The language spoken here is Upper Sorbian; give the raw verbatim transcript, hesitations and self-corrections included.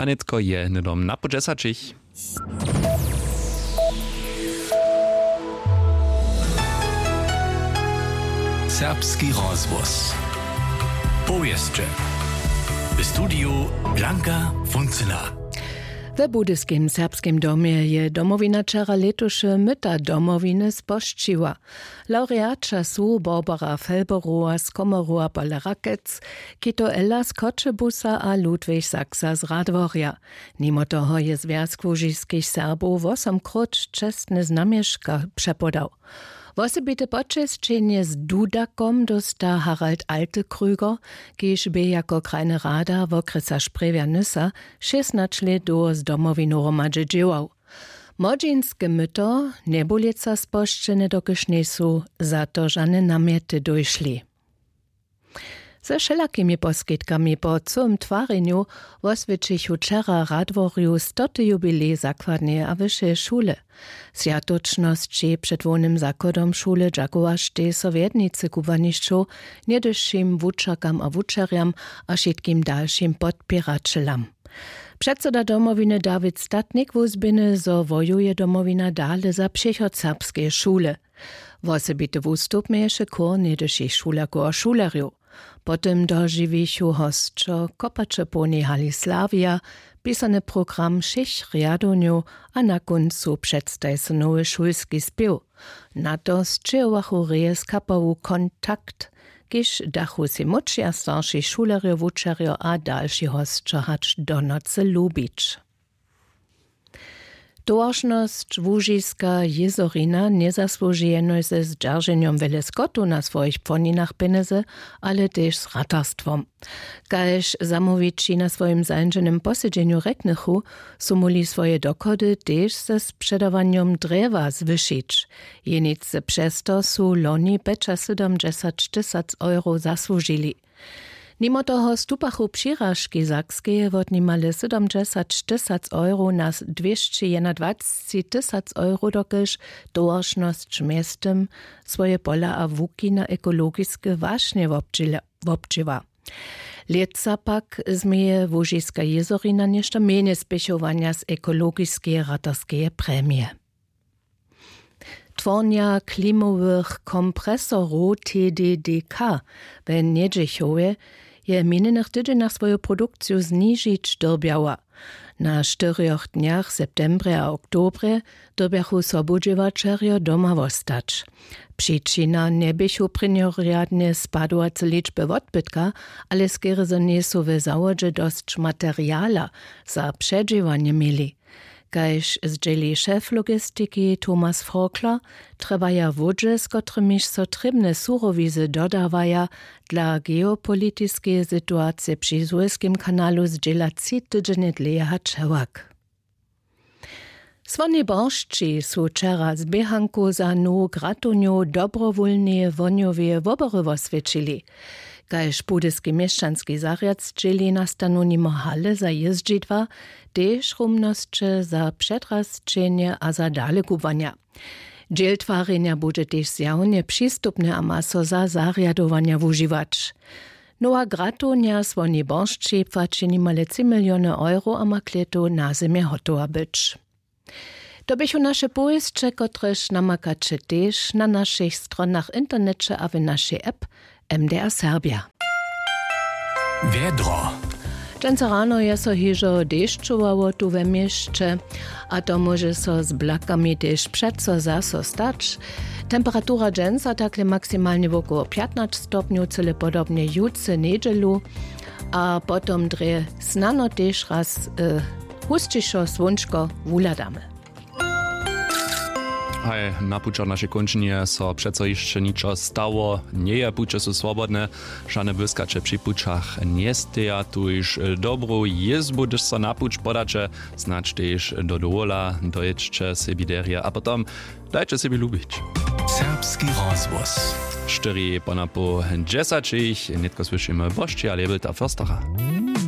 A nětko je hnydom na pół dźesaćich. Serbski rozhłos. Powěsće. W studiju Blanka Funcyna. We Budyskim serbskim domje je Domowina wčera lětuše Myta Domowiny spožčiła. Laureaća su Barbara Felberowa z Komoru a Paul Rakec, Kito Ella z Choćebuza a Ludwig Saxa z Radworja. Nimo toho je Zwjazk łužiskich Serbow wosomkróć čestne znamješka přepodał. Wosebite počesćenje z dudakom dósta Harald Altekrüger, kiž bě jako krajny rada wokrjesa Sprjewja Nysa šěsnaće lět dołho z Domowinu hromadźe dźěłał. Młodźinske myto njebulěca spožčene, dokelž njejsu za to žane namjety dóšli. Ze wšelakimi poskitkami po cyłym twarjenju woswjećichu wčera w Radworju stoty jubilej zakładneje a wyšeje šule. Swjatočnosći před hłownym zachodom šule dźakowaštej so wjednicy kubłanišćow, něhdyšim wučerkam a wučerjam a wšitkim dalšim podpěraćelam. Předsyda Domowiny Dawid Statnik wuzběhny, zo wojuje Domowina dale za přichod serbskeje šule. Wosebity wustup měješe chór něhdyšich šulerkow a šulerjow. Potom dožiwichu hosćo kopače w połnej hali Slavija, pisany program wšěch rjadownjow a na kóncu předstaji so nowy šulski spěw. Na to sćěhowachu reje z kapału Kontakt, kiž dachu sej młódši a starši šulerjo, wučerjo a dalši hosćo hač do nocy lubić. Towaršnosć Łužiska Jězorina njezasłuži jenož ze zdźerženjom wjele skotow na swojich płoninach pjenjezy, ale tež z ratarstwom. Kaž zamołwići na swojim zańdźenym posedźenju rjeknychu, su móhli swoje dochody tež ze spředawanjom drjewa zwyšić. Jeničce přez to su loni pjećasydomdźesać tysac euro zasłužili. Nimo toho stupachu přiražki Sakskeje wot nimale sydomdźesać tysac euro na dwěsćejednadwacci tysac euro, dokelž towaršnosć mjeztym swoje pola a łuki na ekologiske wašnje wobdźěla-, wobdźěła. Lětsa pak změje Łužiska Jězorina něšto mjenje spěchowanja z ekologiskeje ratarskeje premije. Twornja klimowych kompresorow T D D K we Njedźechowje je w minjenych tydźenjach swoju produkciju znižić dyrbjała. Na štyrjoch dnjach w septembrje a oktobrje dyrbjachu sobudźěłaćerjo doma wostać. Přičina njeběchu prěnjorjadnje spadowace ličby wotbytka, ale skerje zo njejsu w zawodźe dosć materiala za předźěłanje měli. Kaž zdźěli šef logistiki Thomas Forkler, trjebaja łódźe, z kotrymiž so trěbne surowizy dodawaja, dla geopolitiskeje situacije při Suezkim kanalu zdźěla tři tydźenje dlěje hač hewak. W Słonjej Boršći su wčera z běhankow za nowu gratownjow dobrowólneje wohnjoweje wobory woswjećili. Kaž budyski měšćanski zarjad zdźěli, nastanu nimo hale za jězdźidła tež rumnosće za předrasćenje a za dalekubłanja. Dźěl twarjenja budźe tež zjawnje přistupny a ma so za zarjadowanja wužiwać. Nowa gratownja w Słonjej Boršći płaći nimale tři miliony euro a ma k lětu na zymje hotowa być. To běchu naše powěsće, kotrež namakaće tež na našich stronach w interneće a w našej app M D R Serbja. Wjedro. Dźensa rano je so hižo dešćowało tu we měsće, a to móže so z blakami tež přeco zaso stać. Temperatura dźensa takle maksimalnje wokoło pjatnaće stopnjow, cyle podobnje jutře njedźelu, a potom drje snano tež raz, e, husćišo słónčko wuhladamy. Haj, na pućach našej kónčinje so přeco hišće ničo stało njeje. Puće su swobodne, žane błyskaće při pućach njesteja. Tuž dobru jězbu, hdyž so na puć podaće, snadź tež do dowola, dojědźće sebi derje a potom dajće sebi lubić. Serbski rozhłos. Štyri ponapoł dźesaćich, nětko słyšimy Bošćeja Lebelta-Förstera.